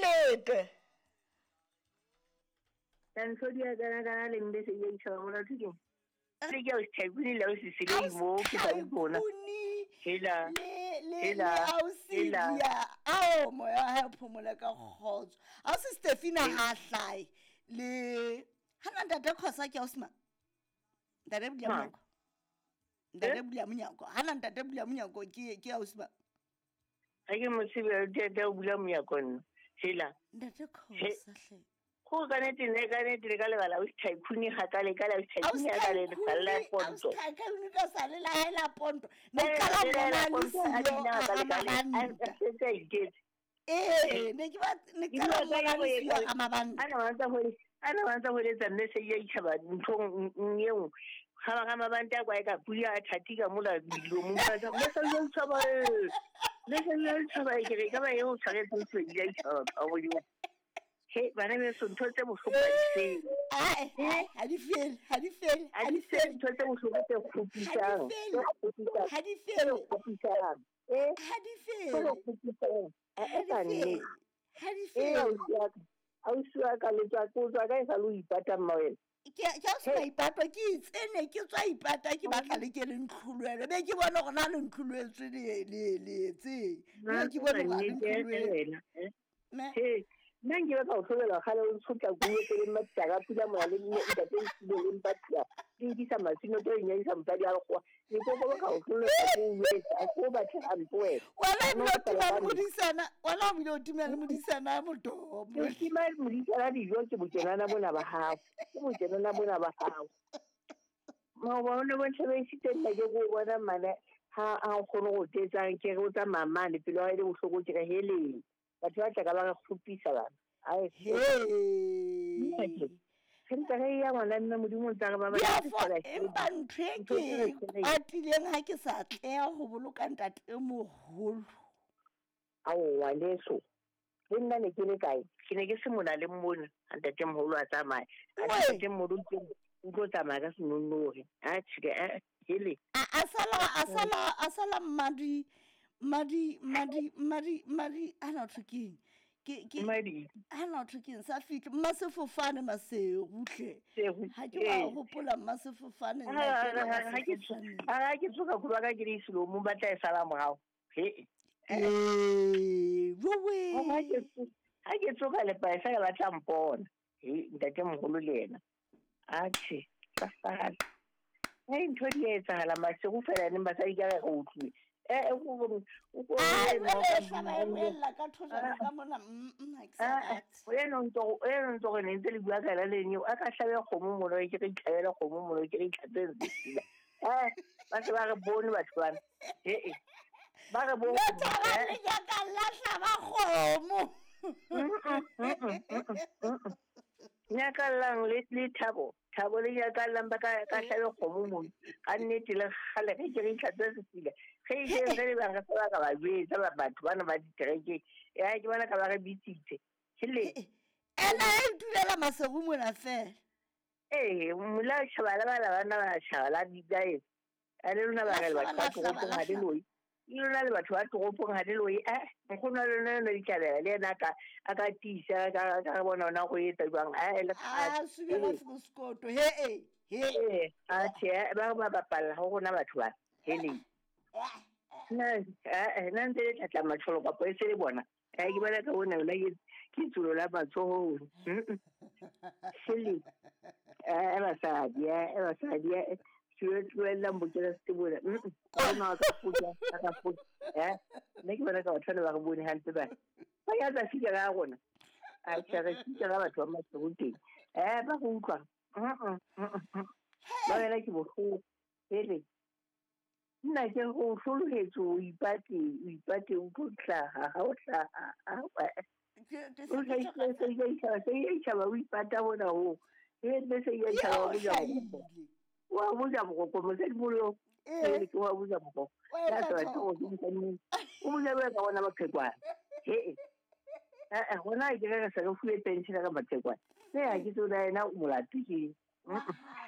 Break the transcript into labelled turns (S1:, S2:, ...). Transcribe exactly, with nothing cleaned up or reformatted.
S1: Lete.
S2: Ntho di a kana kana le mbe se ye itjhaba molato ke. Le ke o Tycoon le o sisile mo ke ba bona. Hela.
S1: Le le le ausilia. Ao moya ha phomola ka kgotso. Ausi Stefina ha hlae le hana ntate Khosa ke ausima. Ntate Bula Monyako. Ntate Bula Monyako. Hana ntate Bula Monyako ke ke ausima.
S2: Ha ke mo tsebe ntate Bula Monyako nna. Hela.
S1: Ntate Khosa hle.
S2: Go ka nete ne ka nete le ka lebala o Tycoon ga ka le ka la Tycoon ya ka le le ponto.
S1: Tycoon ka sa le la la ponto. Ne ka la bona le siyo a mabanta. Eh ne ke ba ne ka la bona le siyo a mabanta.
S2: Ana wa tsa hore ana wa tsa hore tsa mme se ya itjhaba nthong eo. Ga ba ga mabanta kwa ka pula a thati ka mola dilo mo ba tsa mme se ya itjhaba e. Le se ya itjhaba ke re ka ba eo tshwaretse se ya itjhaba ka go di. He bana be so ntho tse bohloko ha di fele.
S1: Ae, ha di fele, ha di fele,
S2: ha di fele ntho tse bohloko tse kgopisang.
S1: Ha di fele.
S2: Eh,
S1: ha di fele.
S2: Ha di fele.
S1: Ha di fele.
S2: Ausi wa ka le tswa ko tswa ka e sa lo ipata mma wena.
S1: Ke ke a sa ipata ke itsene ke tswa ipata ke batla le ke le ntlhuluele be ke bona gore na le ntlhuluetswe le le le tse. Be ke bona gore le ntlhuluele.
S2: Me. Nna nke ba ka o tlhobela kgale o tshotla kuo tse le mmatla pula mola le nne ntate le le mpatla ke nkisa masino to inyadisa mosadi a lekgowa ke kopo ba ka o tlhobela ko etsa ko batho a mpo wena
S1: wena ebile o tima le modisana wena o bile o tima le modisana motomo
S2: ke tima le modisana dijo ke bokenana bona ba hao ke bokenana bona ba hao maoba o ne bontshe ba isitse nna ke go bona mmane ha a kgone go tetsang ke re o tsamaya mane pelo ya hae le bohloko ke re heleng. Batho ba tla ka ba re kgopisa bana. Ai
S1: he.
S2: Re ntse re ya ngwana mme Modimo o ntse re ba ba
S1: empa ntho e ke kwatileng ha ke sa tleha ho boloka ntate e moholo.
S2: Aowa leso. Le nna ne ke le kae? Ke ne ke se mona le mmona ha ntate moholo a tsamaya. Ntate moholo ke o tlo tsamaya ka senonnori. Atjhe ke eh hele.
S1: A sala a sala a sala mmadi Madi madi madi madi ana thukeng ke ke
S2: madi
S1: ana thukeng sa fitlhe mmasefofane maserutle ha ke ba hopola mmasefofane
S2: nna ke ke ha ke tsoka go ba ka ke di selo mo batla e sala morao he
S1: eh wewe
S2: ha ke ha ke tsoka le paesa ya batla mpona he ntate moholo le yena atjhe ka sala he ntho di etsahala maseru fela neng basadi ka re utlwe. Eh o o o
S1: ella ka thojana ka mona mm ha
S2: o eno ntho o eno ntho re ntse le bua ka la le neo a ka hlabe kgomo mono ke re itlhabela kgomo mono ke re itlhatseng eh ba se ba re bone batho bana eh eh ba re bone
S1: le ya ka la hlaba kgomo
S2: nyakallang le le thabo thabo le nyakallang ba ka ka hlabe kgomo mono ka nnete le kgale ge ke re itlhatse sesila ge ke re le ba re ba ka ba jwetsa ba batho bana ba ditereke ya ke bona ka ba re bitsitse hele
S1: ena e dulela maseru mona fela
S2: eh mola tjhabala ba la bana ba tjhabala di kae a le lona ba re batho ba toropong ha le loi le lona le batho ba toropong ha le loi eh nkgono le lona le ditlhabela le yena ka a ka tiisa ka ka bona ona go etsa jwang eh le
S1: a subela froskoto he eh he
S2: eh a tjhe ba ba bapalla ho rona batho ba hele nna eh nna ntse le tlatla matsholo kapo e se le bona eh ke bona ka bona la ke ke tsulo la matsoho hele eh basadi eh basadi eh tlohella mbokela se bona nna ka futa ka futa eh nne ke bona ka batho ba re bone hantle ba ba ya tsa fika ka rona a tshare fika ka batho ba maseru teng eh ba go utlwa ba wena ke bohloko hele nna ke go hlolohetse o ipate o ipate o tlo hlaha ha o hlaha o hlahisa o ipata bona ho e mme se ya tjhaba o ja wa buja mokoko mosadi molo eh ke wa buja mokoko ya tswa tso o o buja ba ka bona maqhekwana he eh eh hona ke re se re fuwe pension ka maqhekwana se ha ke tsona ena molato ke.